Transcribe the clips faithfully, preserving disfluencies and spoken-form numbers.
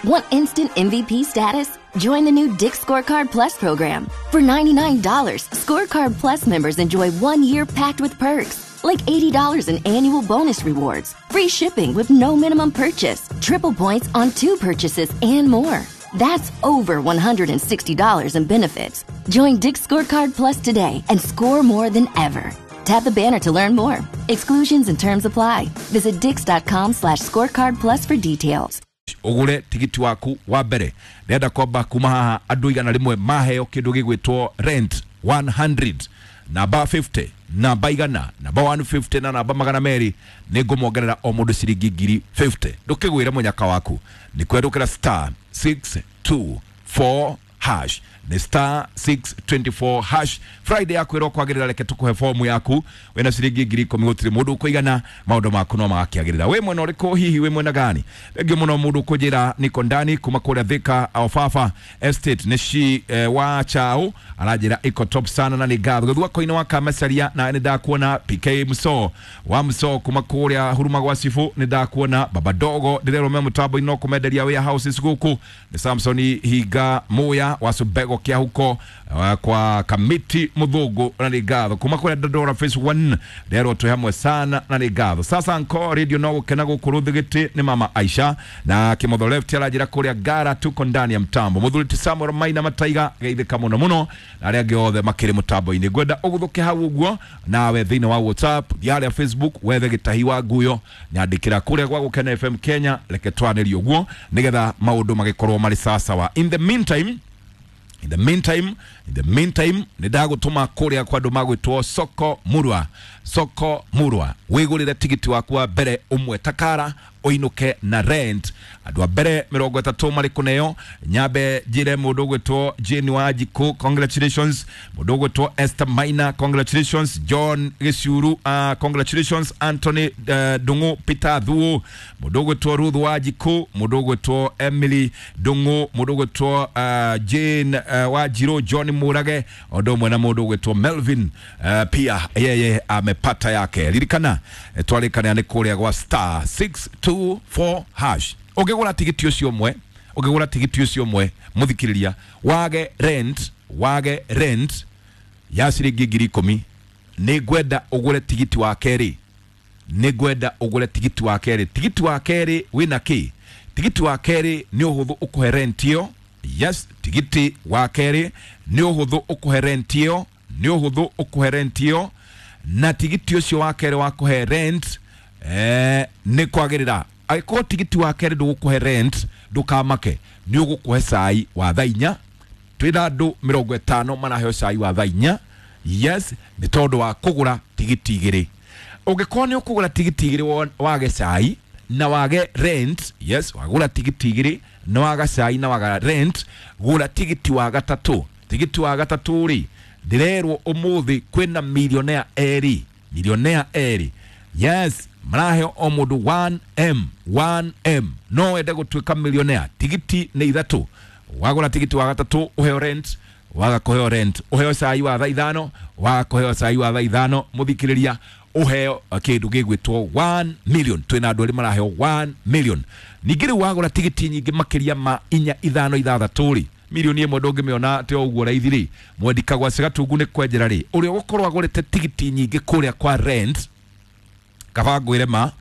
Want instant M V P status? Join the new Dick's Scorecard Plus program. For ninety-nine dollars, Scorecard Plus members enjoy one year packed with perks, like eighty dollars in annual bonus rewards, free shipping with no minimum purchase, triple points on two purchases, and more. That's over one hundred sixty dollars in benefits. Join Dick's Scorecard Plus today and score more than ever. Tap the banner to learn more. Exclusions and terms apply. Visit dicks.com slash scorecard plus for details. Ugure tigiti waku wa mbere ndenda kwamba kuma haha andu igana rimwe maheo kindu gigwitwo rent one hundred namba fifty namba igana namba one fifty na namba magana meri nĩngũmwongerera o mũndũ ciringi ngiri fifty. Ndũkĩgwĩre mũnyaka waku nĩ kwendũkĩra star six two four hash ni star six two four hash. Friday yaku ĩro kwagĩrĩra, reke tũkũhe fomu yaku wĩna ciringi ngiri ikũmi gũtirĩ mũndũ ũkũigana maũndũ maku no magakĩagĩrĩra. Wĩ mwena ũrĩkũ hihi, wĩ mwena gani? Thengiũ mũno mũndũ ũkũnjĩra niko ndani kuma kũrĩa Thika Ofafa Estate nĩ shi eh, wa chao aranjĩra iko top sana na nĩ ngatho. Gĩthua koinĩ wa Kamacaria na nĩ ndakuona P K Muso wa Muso kuma kũrĩa Huruma gwa Cibu nĩ ndakuona Baba Dogo ndĩrerwo me mũtambo-inĩ no kũmenderia warehouses gũkũ nĩ Samson Hinga Muya wa Subego kia huko uh, kwa Kamiti Muthungu na nĩ ngatho. Kuma kũrĩa Dandora Phase one ndĩrerwo twĩ hamwe sana na nĩ ngatho. Sasa nko radio no gũkena gũkũ Rũthigiti nĩ Mama Aisha na Kimotho Left aranjĩra kũrĩa Ngara tuko ndani ya mtambo. Mũthuri ti Samuel Maina Mataiga geithĩka mũno mũno na arĩa angĩ othe makĩrĩ mũtambo-inĩ. Ngwenda ũgũthũke hau ũguo nawe thĩinĩ wa WhatsApp harĩa Facebook wethe Gĩtahi wa Nguyo nyandĩkĩra kũrĩa gwa Gũkena F M Kenya, reke twanĩrie ũguo nĩgetha maũndũ magĩkorwo marĩ sawasawa. In the meantime In the meantime, in the meantime, nĩ ndagũtũma kũrĩa kwa andũ magwĩtwo Soko Murwa. Soko Murwa. Wĩgũrĩre tigiti waku wa mbere ũmwe takara ũinũke na rent. Andũ a mbere mĩrongo ĩtatũ marĩ kũneo. Nyambe njĩre mũndũ ũgwĩtwo Jane Wanjikũ, congratulations. Mũndũ ũgwĩtwo Esther Maina, congratulations. John Gĩciuru, uh, congratulations. Anthony uh, Ndung'u, Peter Thuo. Mũndũ ũgwĩtwo Ruth Wanjikũ, mũndũ ũgwĩtwo Emily Ndung'u, mũndũ ũgwĩtwo uh, Jane uh, Wanjirũ, John Murage, ũndũ ũmwe na mũndũ ũgwĩtwo Melvin uh, pia yeye amepata yake. Ririkana twarĩkana nĩ kũrĩa gwa star six two four hash. Ũngĩgũra tigiti ũcio ũmwe, ũngĩgũra tigiti ũcio ũmwe mũthikĩrĩria wage rent, wage rent ya ciringi ngiri ikũmi, nĩ ngwenda ũgũre tigiti wa kerĩ, nĩ ngwenda ũgũre tigiti wa kerĩ. Tigiti wa kerĩ wĩna kĩ? Tigiti wa kerĩ nĩ ũhũthũ ũkũhe rent ĩyo. Yes, tigiti wa kerĩ nĩ ũhũthũ ũkũhe rent ĩyo, nĩ ũhũthũ ũkũhe rent ĩyo, na tigiti ũcio wa kerĩ wa kũhe rent eh, nĩ kwagĩrĩra. Angĩkorwo tigiti wa kerĩ ndũgũkũhe rent ndũkamake, nĩ ũgũkũhe cai wa thaa inya. Twĩna andũ mĩrongo ĩtano maraheo cai wa thaa inya. Yes, nĩ tondũ wa kũgũra tigiti igĩrĩ. Ũngĩkorwo nĩ ũkũgũra tigiti igĩrĩ wage cai na wage rent, yes, wagũra tigiti igĩrĩ na waga cai na waga rent, gũra tigiti wa gatatũ. Tigiti wa gatatũ rĩ, ndĩrerwo ũmũthĩ kwĩna millionaire erĩ, millionaire erĩ. Yes, maraheo o mũndũ one M, one M. No wende gũtuĩka millionaire. Tigiti nĩ ithatũ. Wagũra tigiti wa gatatũ ũheo rent, waga kũheo rent, ũheo cai wa thaa ithano, waga kũheo cai wa thaa ithano, mũthikĩrĩria ũheo kĩndũ gĩgwĩtwo one million. Twĩna andũ erĩ maraheo one million. Ningĩ rĩu wagũra tigiti nyingĩ makĩria ma inya ithano ithathatũ rĩ, milioni ĩmwe ndũngĩmĩona atĩ o ũguo raithi rĩ. Mwendika gwa Cigatungu nĩ kwenjera rĩ, ũrĩa ũgũkorwo agũrĩte tigiti nyingĩ kũrĩa kwa rent, kaba ngwĩre ma,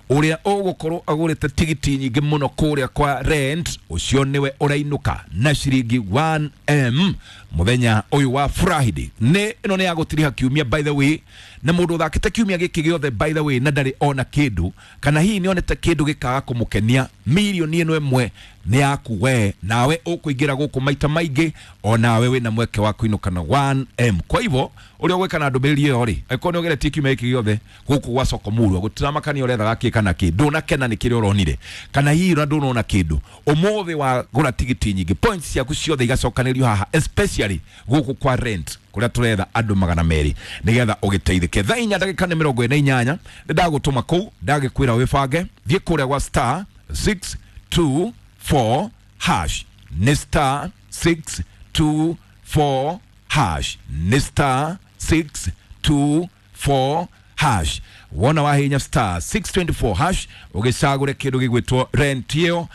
ũrĩa ũgũkorwo agũrĩte tigiti nyingĩ mũno kũrĩa kwa rent, ũcio nĩwe ũrainũka na ciringi one M mũthenya ũyũ wa Friday. Nĩ ĩno nĩ ya gũtiriha kiumia by the way, na mũndũ ũthakĩte kiumia gĩkĩ gĩothe by the way na ndarĩ ona kĩndũ, kana hihi nĩonete kĩndũ gĩkaga kũmũkenia, milioni ĩno ĩmwe nĩ yaku we, nawe ũkũingĩra gũkũ maita maingĩ, onawe wĩna mweke wa kũinũka na one M. Kwa hivyo ũrĩa ũgwĩka na ndũmĩrĩri ĩyo rĩ, angĩkorwo nĩ ũgeretie kiumia gĩkĩ gĩothe gũkũ gwa Soko Murwa gũtiramakania ũrethaga kĩ kana kĩ, ndũnakena nĩ kĩrĩa ũronire, kana hihi ona ndũnona kĩndũ, ũmũthĩ wagũra tigiti nyingĩ, points ciaku ciothe igacokanĩrio haha, especially gũkũ kwa rent kũrĩa tũretha andũ magana merĩ nĩgetha ũgĩteithĩke. Thaa inya ndagĩka nĩ mĩrongo ĩna inyanya nĩ ndagũtũma kũu, ndagĩkwĩra wĩbange, thiĩ kũrĩa gwa star six two four hash, nĩ star six two four hash, nĩ star six two four hash. Wona wahinya star six twenty-four hash ũgĩcagũre kĩndũ gĩgwĩtwo rent ĩyo.